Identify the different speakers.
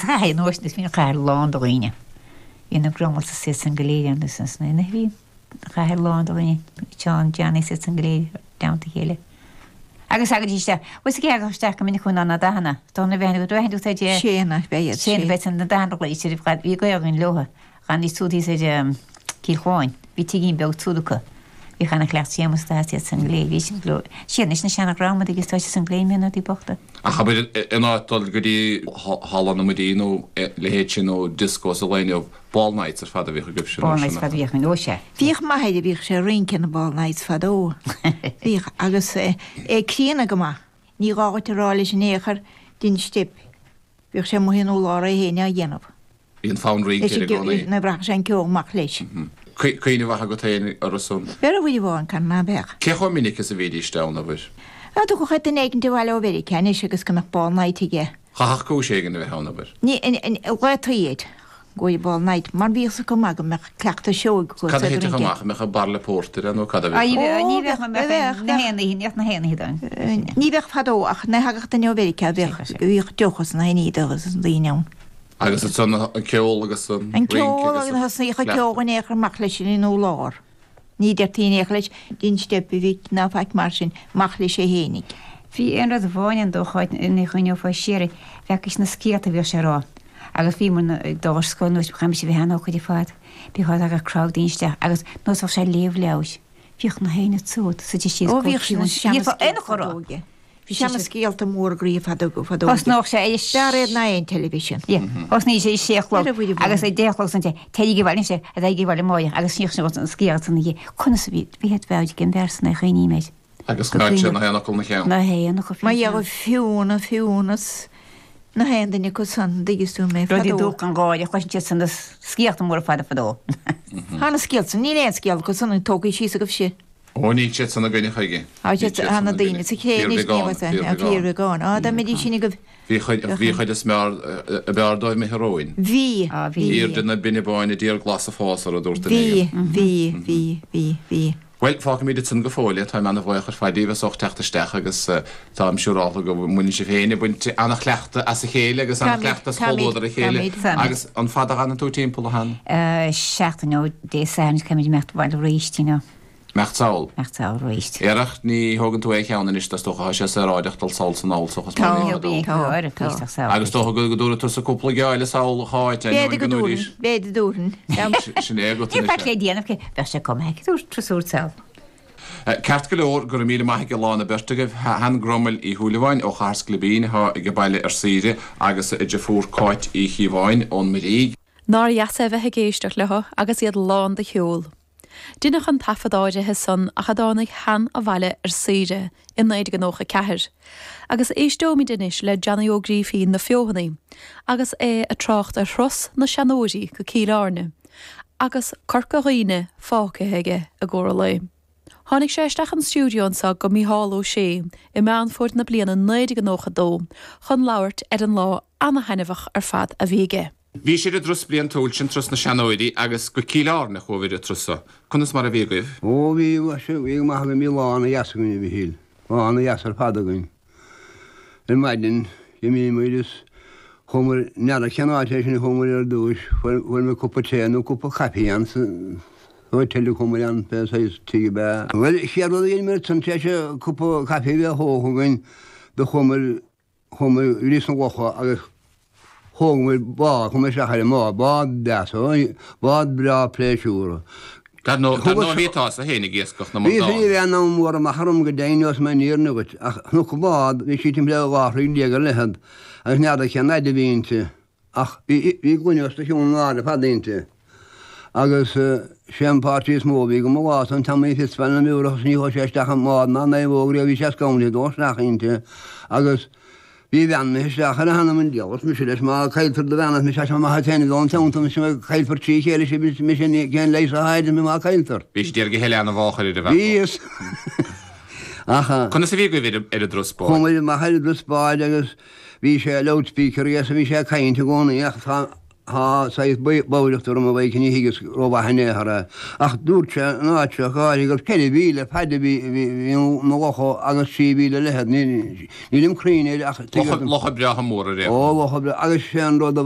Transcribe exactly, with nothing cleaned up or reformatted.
Speaker 1: Chathair an uair sin is bhí an chathair lán de dhaoine. Bhí na Grummels is iad san go léir ann is ansan ina bhí an chathair lán de dhaoine, Seán, Johnny is iad san go léir i dteannta a chéile. Agus thagaidís isteach, bhfuil 's ag theacht isteach go minic chugainn ná na dathanna, tá na bheith go bhfeiceann tú said
Speaker 2: Sé na beidh iad,
Speaker 1: sé na
Speaker 2: sé.
Speaker 1: beidh san na dathanna ghlaoite ar fad, bhí gaol againn leotha, ghan siúd thíos ar Cill Chuáin, bhí tigín beag tsúd acu. Bhíodh ana chleacht Séamus do iad san go léir, bhí sin go leor. Siad anois na seana ghramadaigh is tá siad san gléim na rudaí bochta.
Speaker 3: Ach abair in áit dul go dtí Halla na Muirí nó leithéid sin nó disco sa lá inniu, ball nights ar fad a bhíodh agaibhse
Speaker 1: Ball
Speaker 3: nó
Speaker 1: nights
Speaker 3: sin
Speaker 1: fad a bhíodh againn, ó sea.
Speaker 2: Bhíodh m'athair a bhíodh sé ag rince na ball nights fadó. Bhíodh agus é críonna go maith. Ní gá dhuit a rá leis in aon chor dein steip. Bhíodh sé amuigh in urlár é féin á dhéanamh.
Speaker 3: Bhí an fonn rince air i gcónaí.
Speaker 2: Nuair a bhraithfeadh sé an ceol amach leis.
Speaker 3: Cuimhne mhaith agat féin orthu san.
Speaker 2: Bheir a bhuille amháin can ná beadh.
Speaker 3: Cé chomh minic is a bhídís ann, abair?
Speaker 2: Á, dtiocfadh duine éigin abhaile ó Mheiriceá anois agus go mbeadh ball night aige.
Speaker 3: Chaithfeadh cúis éigin a bheith ann, abair.
Speaker 2: Ní, ghlaotaí iad go bhfuil ball night, mar bhíodh acu maith go mbeadh cleachtadh sióg acu
Speaker 3: Cad a
Speaker 2: sa
Speaker 3: thitfeadh
Speaker 2: rince.
Speaker 3: amach? An mbeadh bairille pórtair ann nó cad a
Speaker 1: Á,
Speaker 3: bheadh?
Speaker 1: ní bheadh, ní
Speaker 2: Ó,
Speaker 1: bheadh,
Speaker 2: bheadh, bheadh,
Speaker 1: na haon oíche, ní bheadh na haon oíche ann.
Speaker 2: Ní bheadh fadó ach nuair a thagadh duine ó Mheiriceá bheadh, bhíodh deoch is na haon ní agus an daoine ann.
Speaker 3: Agus ansan an ceol agus an
Speaker 2: An
Speaker 3: rince
Speaker 2: ceol
Speaker 3: agus
Speaker 2: agus thosnaíodh an
Speaker 3: cleachtadh.
Speaker 2: ceol in aon chor amach leis in urlár. Ní deirtí in aon chor leis, dein steip a mhic ná faic mar sin, amach leis é fhéinig.
Speaker 1: Bhí aon rud amháin an dócha ina chuimhneofá siar air, bheadh na scéalta a bhíodh sé a rá. Agus bhíomar ag dul ar scoil nuair chaithfimid a bheith an-ócáid ar fad. Bhí tagadh crowd daoine isteach agus nós bheadh sé ag léamh leabhair. Bhíodh na héinne tsúd sa siad
Speaker 2: Ó bhíodh sin
Speaker 1: Ní aon chor rá.
Speaker 2: seana Bhí seana scéalta mór groí fadó fadó.
Speaker 1: Thosnódh sé ar
Speaker 2: B'fhearr iad ná aon television.
Speaker 1: Thosnaigh sé sé a chlog
Speaker 2: Ar a bhfuil a
Speaker 1: agus ag deich a chlog san téigh abhaile sé a bheith abhaile amárach agus sníodh sé an scéal san oíche. Conas a bhí bhí het bheith ag an bhfear san é chuimhním air.
Speaker 3: Agus choimeád sé na haon fhocal ina cheann.
Speaker 1: Na haon fhocal
Speaker 2: Má dhéanamh Fiona Fiúnas na haon duine acu san dtuigeann tú mé
Speaker 1: Rudaí
Speaker 2: fadó.
Speaker 1: dúch an gáire chloiseann siad san na scéalta móra fada fadó.
Speaker 2: Tá na scéalta san níl aon scéal acu san tógtha síos agaibh si.
Speaker 3: Ó níl siad san againne chuige.
Speaker 2: Tá siad tá na daoine sa chré anois ní fíorbheagán. Á dá mbeidís sin agaibh.
Speaker 3: Bhí chuid bhí chuid is mear a b'fhearr dóibh imithe romhainn.
Speaker 2: Bhí
Speaker 1: Á bhí.
Speaker 3: B'fhíor de na binne báine d'iar glas a fás ar a dúirt duine
Speaker 2: Bhí
Speaker 3: éigin.
Speaker 2: bhí bhí bhí bhí.
Speaker 3: Well, fágfaimid ansan go fóill é, táim ana-bhuíoch ar fad díbh as ucht teacht isteach agus táim siúrálta go mbaineann sibh féin ag baint ana-chleachtadh as a chéile agus
Speaker 2: Táimid,
Speaker 3: ana-chleachtadh as
Speaker 2: táimid,
Speaker 3: comhluadar a chéile.
Speaker 2: táimid.
Speaker 1: Táimid.
Speaker 3: Agus an fada a fhanann tú timpeall a Han?
Speaker 1: Seachtain ó Dé Sathairn caithfimid imeacht abhaile arís, you know.
Speaker 3: Imeacht sall.
Speaker 1: Imeacht sall arís.
Speaker 3: Iarracht ní thógann tú é cheann anois is dócha tá sé saoráideach dul sall san ál sochas
Speaker 2: Tá,
Speaker 3: mar
Speaker 1: Ní
Speaker 2: tá,
Speaker 1: bhí
Speaker 2: tá.
Speaker 1: sall.
Speaker 3: Agus dócha go go dtabharfaidh tusa cúpla geáille sall cháit
Speaker 2: B'fhéidir go dtabharfainn, b'fhéidir dtabharfainn.
Speaker 3: Sin é agat
Speaker 1: Ní
Speaker 3: anois
Speaker 1: faic le déanamh cé bheadh sé cuma dúirt trasúr sall.
Speaker 3: Ceart go leor go raibh míle maith ag lá na beirt agaibh Han Grummel Uí Shúilleabháin ó Chathair Sclibín atá ag baile ar saoire agus a deirfiúr Cáit Uí Chíobháin ón Muirígh.
Speaker 4: Nár dheas é bheith ag éisteacht leo agus iad lán de cheol. Deineadh an taifead áirithe san ach a dtáinig Han abhaile ar saoire i naoi déag nócha ceathair. Agus éisteoimid anois le Johnny Ó Grífín na Feothanaí, agus é ag trácht ar thuras na seanóirí go Cill Airne, agus Corca Dhuibhne fágtha aige i gcomhair an lae. Tháinig sé isteach an stiúideo anseo go Mícheál Ó Sé i Meán Fómhair na bliana naoi déag nócha dó chun labhairt ar an lá ana-thaitneamhach ar fad a bhí aige.
Speaker 3: Bhí sé i dturas bliantúil sin turas na seanóirí agus go Cill Airne a chuabhair an turas seo. Conas mar a bhí agaibh?
Speaker 5: Ó bhí bhí go maith againn bhí lá ana-dheas againn a Mhichíl, lá ana-dheas ar fad againn. Ar maidin d'imíomar is chuamar n'fheadar cén áit é sin chuamar ar dtús, fuair fuair mé cúpla tae nó cúpla caife ann sa hotel a chuamar ann pé saghas tigh ab ea. Bhuel chéad rud a dhéanamar ansan tar éis cúpla caife a bheith thógtha againn do chuamar chuamar ríos na locha agus thógamar bád chuamar isteach ar an mbád, bád deas, bád breá pléisiúr.
Speaker 3: Dar ndóigh bhí tusa féin ag iascach na
Speaker 5: Bhí
Speaker 3: mbradán.
Speaker 5: bhí an mór amach orm go deimhin os mé níor agat ach chonac an bád bhí sí timpeall dhá throigh déag ar leithead agus n'fheadar cén fhaid a bhí inti ach bhí bhí gloine os do chionn an áir fad inti. Agus sé an páirtí is mó a bhí go mo lá an Tommy Fitzpatrick na miúrach ní chuaigh sé isteach an mbád ná naomhóg riamh bhí sé scanraithe dul isteach inti agus bhí bhean isteach ar a hanam an diabhal mise leis má cailltear do bhean mise sé maith féin dón teannta mise caillfear trí chéile sé mise cén leis a haid mé má cailltear.
Speaker 3: Bhí sé dearga heile an bháchair ar a bhean.
Speaker 5: Bhíos Ach
Speaker 3: Conas a bhí agaibh ar ar an dturas báid?
Speaker 5: Chuamar amach ar an dturas báid agus bhí sé loudspeaker agus bhí sé ag caint i gcónaí ach tá Tá saghas bodhaireacht orm a Mhaidhc, ní thuigeas rómhaith in aon chor é. Ach dúirt sé an áit seo go háirithe gur ceithre mhíle fad a bhí na locha agus trí mhíle leithead. Nílim cruinn air ach tuigear dom.
Speaker 3: Locha breátha móra ar aon
Speaker 5: Ó, locha breátha. Agus sé an rud a